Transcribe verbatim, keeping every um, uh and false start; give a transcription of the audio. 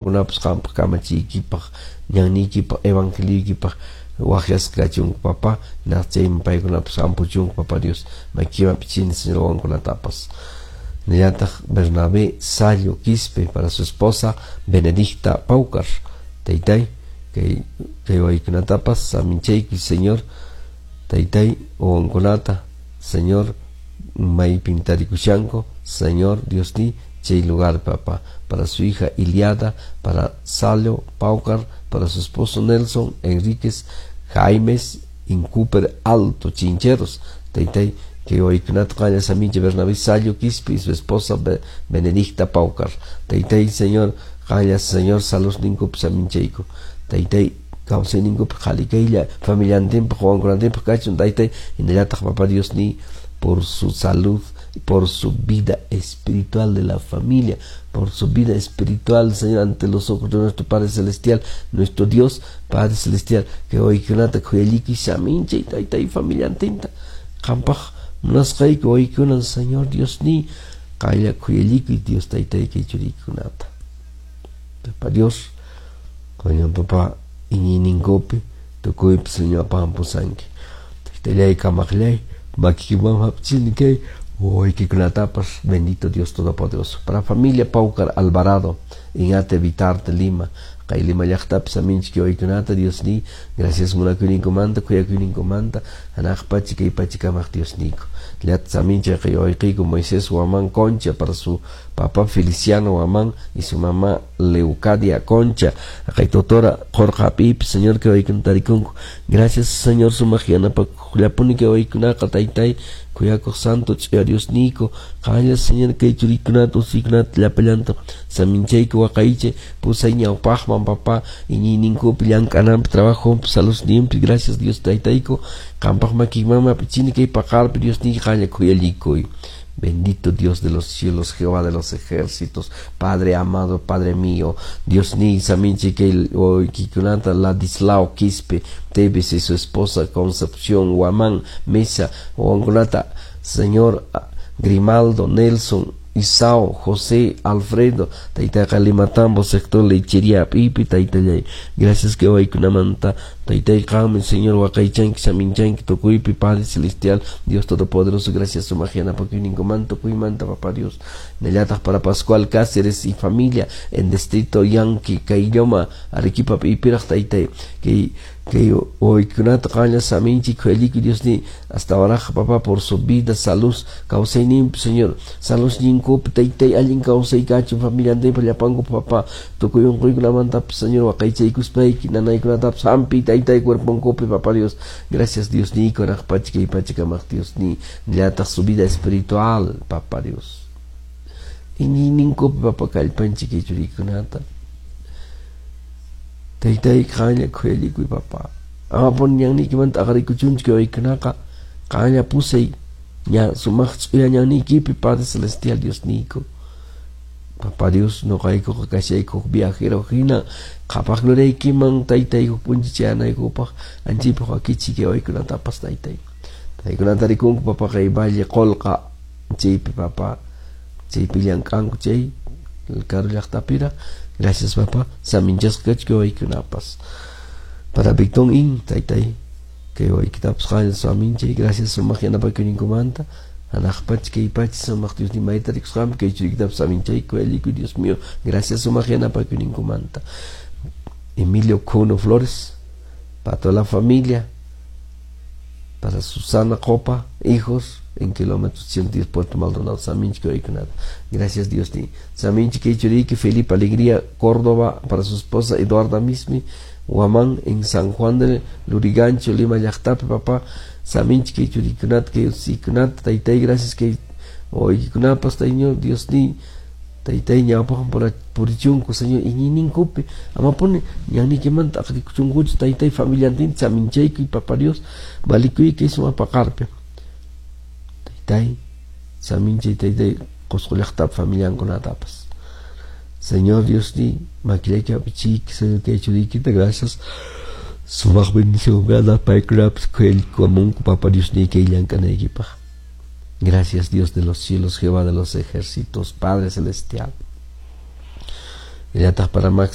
Kunapas qampaq kamachiykipaq ñanniykipaq evangeliykipaq waqyasqa kachunku papá hinaspa paykunapas hampuchunku papá Dios makiman pichini Señor wawankunatapas. Nillataq Bernabé Sallo Quispe para su esposa Benedicta Paucar taytay kay kay waykunatapas saminchayki Señor taytay wawankunata Señor maypin tarikushanku Señor Dios ni chay lugar papá para su hija Iliada para Salo Paucar para su esposo Nelson Enríquez Jaimes Incuper Alto Chincheros taytay que waykunata qalla samincha Bernabé Sallo Quispe y su esposa Benedicta Paucar taytay Señor qalla Señor saludninkupi saminchayku taytay kawsayninkupi qhali kaylla familiantinpaq wawankunantinpaq kachun taytay hinallataq papá Dios ni por su salud, por su vida espiritual de la familia, por su vida espiritual, Señor, ante los ojos de nuestro Padre Celestial, nuestro Dios, Padre Celestial, que waykunata khuyalliki saminchay taytay familiantinta qampaq munasqayki waykuna Señor Dios ni qalla khuyalliki Dios taytay kay churiykunata. Papá Dios, coño papá iñiyninkupi tukuypi Señor apampusanki taytallay kamaqllay makikiman hapchini kay wawaykikunatapas bendito Dios Todopoderoso. Para familia Paucar Alvarado en Ate Vitarte Lima kay Lima llaqtapi saminchik wawaykunata Dios ni gracias munakuyninkumanta khuyakuyninkumanta hanaq pacha kay pachakamaq Dios niyku llata saminchik kay wawayqiyku Moisés Huamán Concha para su papá Feliciano Huamán y su mamá Leucadia Concha kay totora Jorge Apip Señor que wawaykuna tarikunku gracias Señor sumaq yanapakuqllapuni kay wawaykunaqa taytay khuyakuq santo ch'uya Dios niyku qanlla Señor kay churiykunata usuykunata llapallanta saminchayku waqaychay pusay ñawpaqman papá iñiyninkupi llank'ananpi trabajonpi saludninpi gracias Dios taytayku qampaq makiymanmi apichini kay paqarpi Dios niyki qanlla khuyallikuy. Bendito Dios de los cielos, Jehová de los ejércitos, Padre amado, Padre mío, Dios ni saminchi que kikunata Ladislao Quispe, Tevez y su esposa Concepción Huamán Mesa, wawankunata, Señor Grimaldo, Nelson, Isao, José, Alfredo, taytayqa Limatambo, sector lechería pipi, taytallay. Gracias que waykunamanta, taytay qanmi, Señor, waqaychanki, saminchanki, tukuypi, Padre Celestial, Dios Todopoderoso, gracias sumaq yanapakuyninkumanta, tukuymanta, Papá Dios. Nillataq para Pascual Cáceres y familia en distrito Yanqui, Caylloma, Arequipa, pipiraq, taytay, que que waykunata qanlla saminchik khuyallikuy Dios ni hasta ahora papá por su vida, salud, kawsayninpi Señor, saludninkupi taytay allin kawsay kachun familiantinpa llapanku papá tukuy unquykunamantapas Señor waqaychaykuspayki nanaykunatapas hampi taytay cuerponkupi papá Dios, gracias Dios niyku hanaq pacha kay pachakamaq Dios ni nillataq su vida espiritual papá Dios iñiyninkupi papá kallpanchik kay churiykunata taytay qanlla khuyallikuy papá amapuni ñanniykimanta aqarikuchunchik wawaykunaqa qanlla pusay ña sumaq ch'uya ñanniykipi Padre Celestial Dios niyku Papá Dios nuqaykuqa kashayku viajero hina qhapaq gloriaykiman taytayku p'unchay chayanaykupaq anchaypaq wakichik wawaykunatapas taytay taykunata rikunku papá kay Valle Qolqa chaypi papá chaypi llank'anku chay karu llaqtapiraq gracias papá saminchasqa kachun wawaykunapas para Victon In taytay kay wawaykitapas qanlla saminchay gracias sumaq yanapakuyninkumanta hanaq pacha kay pacha sumaq Dios ni mayta rikusqanpi kay churiykitapas saminchayku khuyallikuy Dios mío gracias sumaq yanapakuyninkumanta Emilio Cuno Flores para toda la familia para Susana Copa hijos en kilómetros ciento diez Puerto Maldonado saminchik wawaykunata gracias Dios ni saminchik kay churiyki Felipe Alegría Córdoba para su esposa Eduarda Mismi Huamán en San Juan de Lurigancho Lima llaqtapi papá saminchik kay churiykunata kay usiykunata taytay gracias kay wawaykunapas Señor Dios ni taytay ñawpaqman purichunku Señor iñiyninkupi amapuni ñanniykimanta aqrikuchunkuchu taytay familiantinta saminchaykuy papá Dios valikuyki sumaq paqarpi taytay saminchay taytay Qusqu llaqtapi familiankunatapas Señor Dios ni makillayki apichiyki Señor kay churiykita gracias sumaq bendición paykunapas khuyallikuamunku papá Dios ni kay llank'anaykipaq gracias Dios de los cielos, Jehová de los ejércitos, Padre Celestial. Illataq para Max.